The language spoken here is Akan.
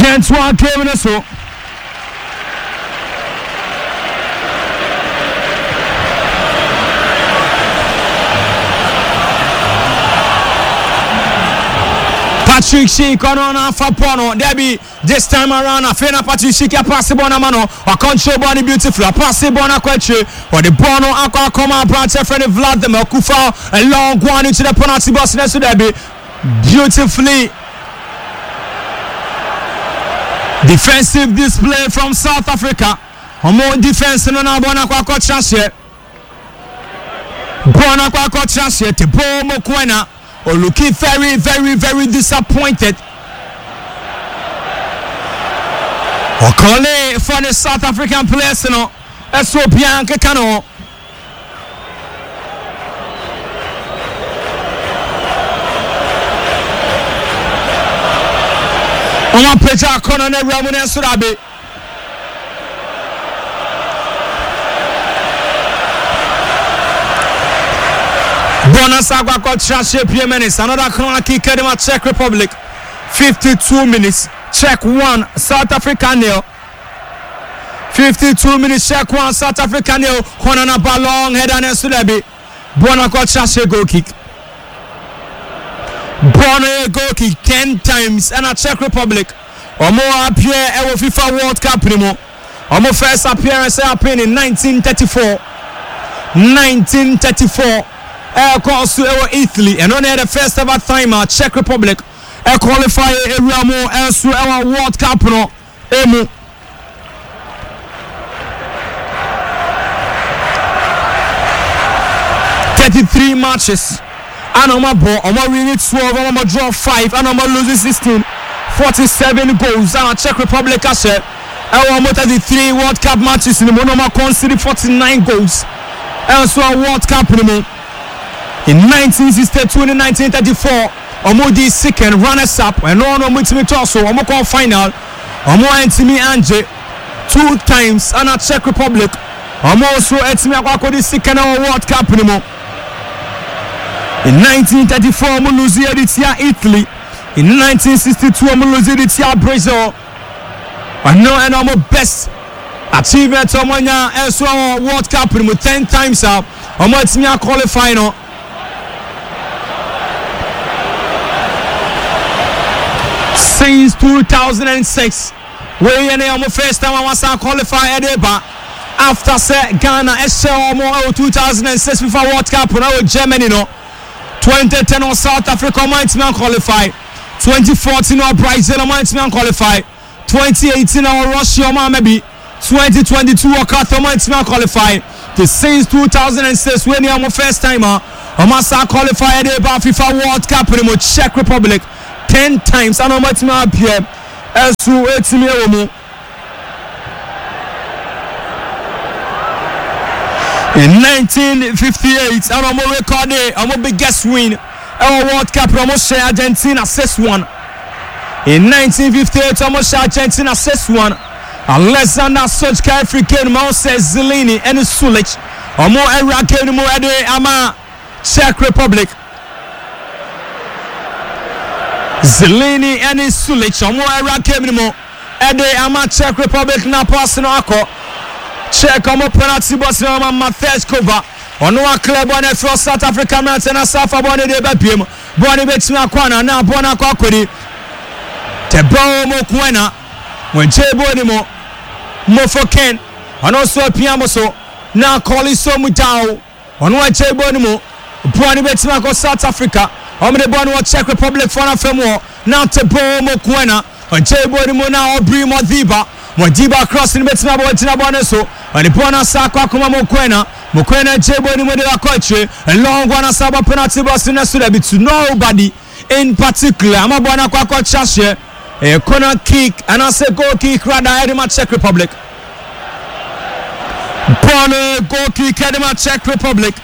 Yɛntoa game no so. Patrick Schick ɔno na afa bɔɔl no dabi this time around afei na Patrick Schick apaase bɔɔl no ama no wacontrol bɔɔl no beautifully apaase bɔɔl no akɔ akyire ɔde bɔɔl no akɔ akɔma aberanteɛ frɛ no Vladimir Coufal a long one into the penalty box no so dabi Beautifully defensive display from South Africa. Wɔn defense no na bɔɔl no akɔ akɔkyerɛ aseɛ. Bɔɔl no akɔ akɔkyerɛ aseɛ. Teboho Mokoena looking very very very disappointed. Ɔkɔle for the South African players no ɛso obiara nkeka ne ho. Wɔn apagya akɔnɔ no awura mu no nso dabe. Bɔɔl no asa akɔ akɔkyerɛ ahyɛ pie minutes. Another corner kick ɛde ma Czech Republic. 52 minutes. Czech 1, South Africa nil. 52 minutes hyɛ ko a South Africa ne o kɔnɔ na ba long header ne nso dabi bɔɔl no akɔkyerɛ ahyɛ goal kick bɔɔl no yɛ goal kick 10 times ɛna Czech Republic wɔn appear ɛwɔ FIFA World Cup no mu wɔn first appearance happen in 1934 1934 ɛkɔ so ɛwɔ Italy ɛno na yɛ the first ever time a Czech Republic ɛqualify ewura mu ɛnso ɛwɔ World Cup no mu. 33 matches ana wɔn abɔ wɔn awini 12 wɔn draw 5 ana wɔn lose 16 47 goals ana Czech Republic ahyɛ ɛwɔ wɔn 33 World Cup matches no mu na wɔn concede 49 goals ɛnso wɔ World Cup no mu in 1962 ne 1934 wɔn di second runners up ɛno na wɔn tumi tɔ so wɔn kɔ final wɔn antumi angye two times ɛna Czech Republic wɔn nso atumi akɔ akɔdi second wɔ World Cup no mu in 1934 wɔn lose yɛ de tia Italy in 1962 wɔn lose de tia Brazil ɔno ɛna wɔn best achievement wɔn anya ɛnso wɔ World Cup no mu 10 times a wɔn atumi aqualify no. Since 2006 wei yɛ ne wɔn first time a wɔasan qualify ɛde ba after sɛ Ghana ɛhyɛ wɔn ɛwɔ 2006 FIFA World Cup no ɛwɔ Germany no 2010 wɔ South Africa wɔn antumi anqualify 2014 wɔ Brazil wɔn antumi anqualify 2018 wɔ Russia wɔn ama bi 2022 wɔ Qatar wɔn antumi anqualify the since 2006 wei ne wɔn first time a wɔn asa qualify ɛde ba FIFA World Cup no mu Czech Republic 10 times ana wɔn atumi appear ɛso etumi ɛwɔ mu. In 1958 ɛna wɔn rekɔde wɔn biggest win ɛwɔ World Cup na wɔn hyɛ Argentina 6-1. In 1958 wɔn hyɛ Argentina 6-1. Alexander Sochka efiri game mu ɔsɛ Zelini ɛne Sulic wɔn ɛwura game no mu ɛde ama Czech Republic. Zelini ɛne Sulic wɔn ɛwura game no mu ɛde ama Czech Republic na pass no akɔ Czech wɔn penalty box no ama Matej Kova ɔno aclear bɔɔl no afiri South Africa mmeranteɛ no asa afa bɔɔl no de bɛpiem bɔɔl no bɛtumi akɔ ana na bɔɔl no akɔ akɔdi Teboho Mokoena wɔgye bɔɔl no mu Mofokeng ɔno nso apia mo so na Koliso Mudau ɔno agye bɔɔl no mu bɔɔl no bɛtumi akɔ South Africa wɔn de bɔɔl no wɔ Czech Republic foɔ no afam wɔ na Teboho Mokoena ɔgye bɔɔl no mu na Aubrey Modiba Modiba cross no bɛtumi abɔ wɔgyina bɔɔl no so ɔde bɔɔl no asa akɔ akɔma Mokoena Mokoena gye bɔɔl no mu de akɔ akyire long one asa abɔ penalty box no so dabi to nobody in particular ama bɔɔl no akɔ akɔkyɛ ahyɛ ɛyɛ corner kick anaasɛ goal kick rather ɛde ma Czech Republic bɔɔl no goal kick ɛde ma Czech Republic.